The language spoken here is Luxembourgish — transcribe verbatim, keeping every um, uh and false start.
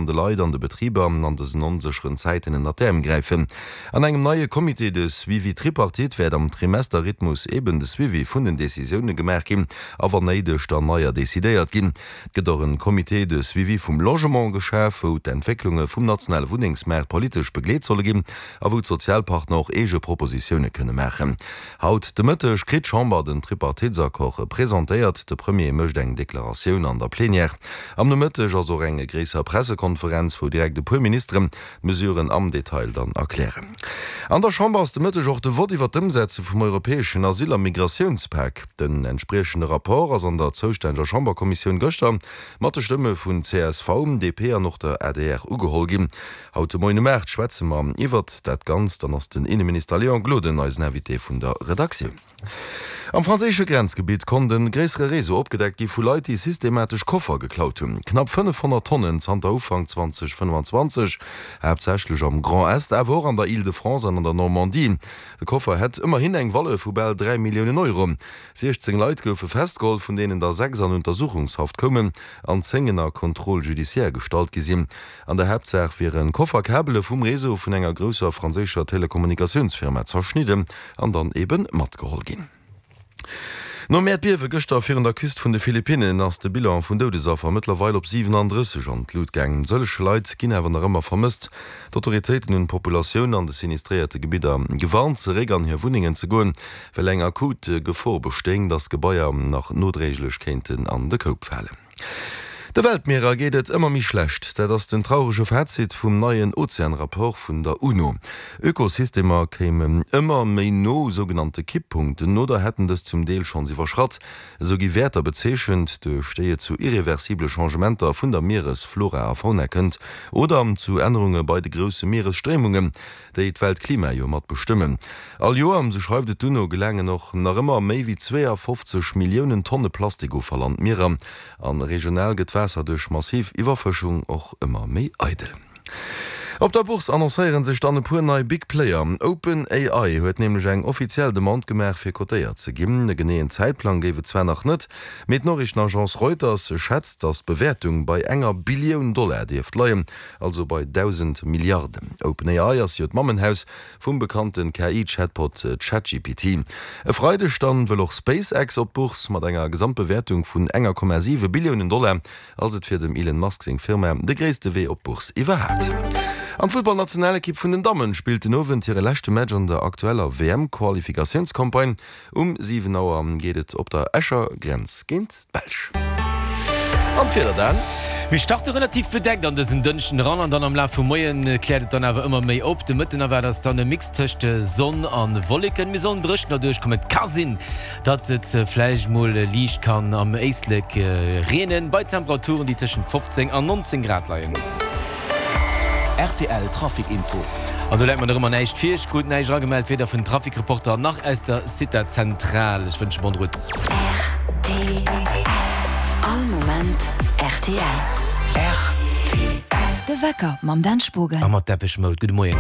an de Leit an de Betriber an dësen onsécheren Zäiten ënnert d'Äerm gräifen. An engem neie Comité de suivi tripartite wäert am Trimesterrhythmus eben de Suivi vun den Decisioune gemaach ginn a wann néideg dann neier decidéiert ginn. Et gëtt och en Comité de suivi vum Logement geschaf, wou d'Entwécklunge vum nationale Wunnengsmaart politesch begleet solle ginn a wou d'Sozialpartner och eege Propositioune kënne maachen. Haut de Mëtteg kritt d'Chamber den Tripartitesaccord presentéiert. De Premier mécht eng Deklaratioun an der Plenière. Am Nomëtteg ass och eng gréisser Pressekonferenz, wou direkt e puer Ministeren d'Mesuren am Detail dann erklären. An der Chamber ass de Mëtteg och de Vott iwwer d'Ëmsetze vum europäeschen Asyl a Migratiounspak. Den entspriechende Rapport ass an der zoustänneger Chamberkommissioun gëschter mat de Stëmme vun csv, D P an och der A D R ugeholl ginn. Haut de Moien um aacht schwätze mer iwwert dat Ganzt, dann ass den Inneminister Léon Gloden eisen Invité vun der Redaktioun. Am franséische Grenzgebitt konnt e gréissere Réseau opgedeckt gi vu Leit, déi systematesch Koffer geklaut hunn. Knapp fënnefhonnert Tonnen zanter Ufank zweedausendfënnefanzwanzeg, haaptsächlech am Grand Est, awer och an der Île-de-France an an der Normandie. De Koffer hätt ëmmerhin eng Valeur vu bal dräi Milliounen Euro. siechzéng Leit goufe festgeholl, vun deenen der sechs an Untersuchungshaft koumen an zéng ënner Contrôle judiciaire gestallt gi sinn. An der Haaptsaach wiere Kofferkabele vum Réseau vun enger grousser franséischer Telekommunikatiounsfirma zerschnidden an dann ebe matgeholl ginn. Nom Äerdbiewe gëschter virun der Küst vun de Philippinnen ass de Bilan vun Doudesaffer mëttlerweil op siwenandrësseg an d'Lut gaangen. Sëllege Leit ginn awer nach ëmmer vermësst. D'Autoritéiten hunn d'Populatioun an de sinistréierte Gebidder gewarnt, zeréck an hir Wunnengen ze goen, well eng akut Gefor bestéing, dass Gebaier nach nodréiglech kéinten an de Koup falen. De Weltmierer geet et ëmmer méi schlecht. Dat ass den traurege Fazit vum neien Ozeanrapport vun der UNO. Ökosystemer kéimen ëmmer méi no sougenannte Kipppunkten oder hätten dës zum Deel schonns iwwerschratt. Esou gi Wäerter bezeechent, duerch déi et zu irreversible Changementer vun der Mieresflora a fauna kënnt oder zu Ännerunge bei de grousse Mieresstréimungen, déi d'Weltklima jo mat bestëmmen. All Joer, sou schreift et d'UNO, gelaangen och nach ëmmer méi wéi zweeafofzeg Milliounen Tonne Plastikoffall an d'Mierer. A regional gëtt d'Waasser duerch massiv Iwwerfëschung och ëmmer méi eidel. Op der Bourse annoncéiere sech dann e puer nei Big Player. Open A I huet nämlech eng offiziell Demande gemaach, fir kotéiert ze ginn. E geneeën Zäitplang géif et zwar nach net, mee d'Noriichtenagence Reuters schätzt, datt d'Bewäertung bei enger Billioun Dollar dierft leien, also bei dausend Milliarden. Open A I ass jo d'Mammenhaus vum bekannte K I-Chatbot ChatGPT. E Freideg dann wëll och SpaceX op d'Bourse. Mat enger Gesamtbewäertung vun enger Komma siwe Billiounen Dollar ass et fir dem Elon Musk seng Firma de gréisste Wee op d'Bourse iwwerhaapt. An d'Futtballnationalekipp vun den Dammen spillt den Owend hire leschte Match an der aktueller W M-Qualifikatiounscampagne. Um siwen Auer geet et op der Escher Grenz géint d'Belsch. An d'Wieder dann? Mir starte relativ bedeckt an dësen Dënschden eran an dann am Laf vum Moien kläert et dann awer ëmmer méi op. De Mëtten erwaart eis dann e Mix tëscht Sonn a Wolleken. Mir sollen dréchener duerchkommen. Et ka sinn, datt et vläicht mol liicht kann am Éislek reenen, bei Temperaturen, déi tëschent fofzéng an nonzéng Grad leien. R T L Trafic Info. An do läit mer nach ëmmer näischt vir. Ech krut näischt eragemellt, weder vun Trafic-Reporter nach aus der Cita-Zentral. Ech wënsche bonne route. R T L. All Moment R T L. R T L. De Wecker mam Dan Spogen. A mat Depeche Mode. Gudde Moien.